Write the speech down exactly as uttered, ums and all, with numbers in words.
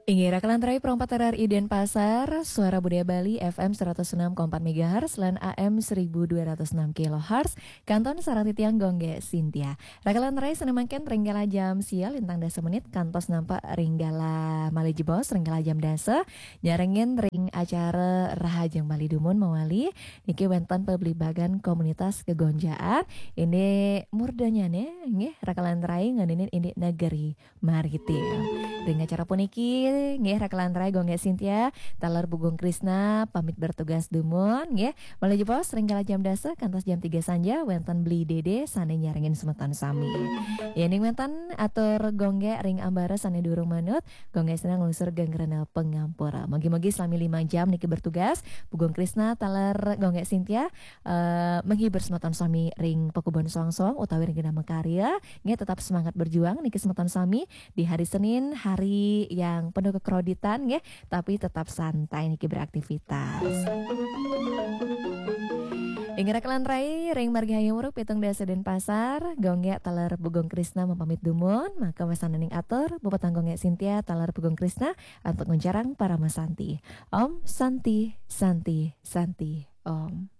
Inggih, rakan lantarai perempat R R I Denpasar, Suara Budaya Bali, F M seratus enam koma empat megahertz, lan A M seribu dua ratus enam kilohertz, kantos sareng titiang Gung Gek Sintia. Rakan lantarai sané mangkin ring galah jam sia lintang dasa menit, kantos nampek ring galah malih jebos ring galah jam dasa, nyarengin ring acara Rahajeng Bali dumun mawali, niki wénten pablibagan komunitas gegonjaan, indik murdanyané, nggih, rakan lantarai ngeninin indik negeri maritim. Ring acara puniki, nggih, rakan lantarai Gung Gek Sintia, taler Gung Krisna, pamit bertugas dumun, nggih. Malih jebos, ring galah jam dasa, kantos jam tiga sanja, wénten Beli Dede, sané nyarengin semeton sami. Yéning wénten atur Gung Gek ring ambara sané durung manut, Gung Gek Sintia nglusur geng rena pangampura. Mugi-mugi selami lima jam niki bertugas, Gung Krisna, taler Gung Gek Sintia, eh, menghibur semeton sami ring pakubon soang-soang utawi ring genah makarya, nggih, tetap semangat berjuang niki semeton sami di hari Senin, hari yang penuh kekroditan, nggih, tapi tetap santai niki beraktivitas. Inggih rakan lantarai, ring margi Hayam Wuruk pitung dasa Denpasar, Gung Gek taler Gung Krisna mapamit dumun, maka wasananing atur, puputang Gung Gek Sintia taler Gung Krisna, antuk nguncarang parama santi. Om Santi, Santi, Santi, Om.